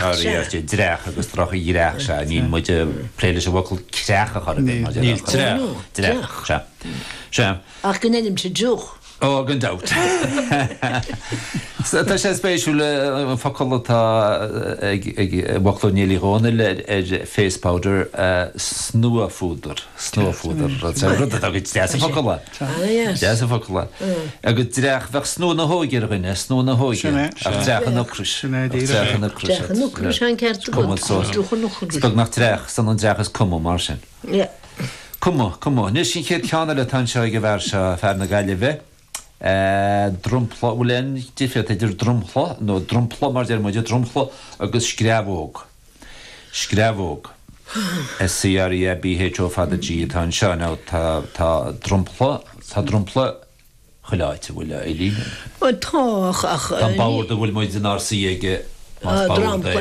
Sea, dreach agus drochdhreach, sea, níl muid ag plé leis an bhfocal creach a chor ar bith, maidir le. Níl, dreach. Dreach, sea. Sea. Ach go ndeinimse deoch. Ó, gan dabht. Tá sé spéisiúil an focal atá ag bhfoclóir Néill Uí Dhónaill ar face powder, snuaphúdar, snuaphúdar, rud atá go deas an focal é. Deas an focal é. Agus dreach, bheadh snua na hóige ar dhuine, snua na hóige, ach dreach an ocrais. Dreach an ocrais. Dreach an ocrais, an ceart agat. Dreach an ocrais. Is beagnach dreach, san an dreach is cuma mar sin. Cuma, cuma. Anois an chéad cheann eile atá anseo ag an bhfear seo, fear na Gaillimhe. Dromchla, bhfuil aon difríocht idir dromchla, nó dromchla mar deir muide, dromchla agus screamhóg? Screamhóg. S-C-R-E-A-B-H-O fada G atá anseo. Now tá, tá dromchla, tá dromchla chuile áit, an bhfuil, a Eileen? Bhuel tá, ach, ach. Tá an bord a bhfuil muid inár suí aige, más bord é.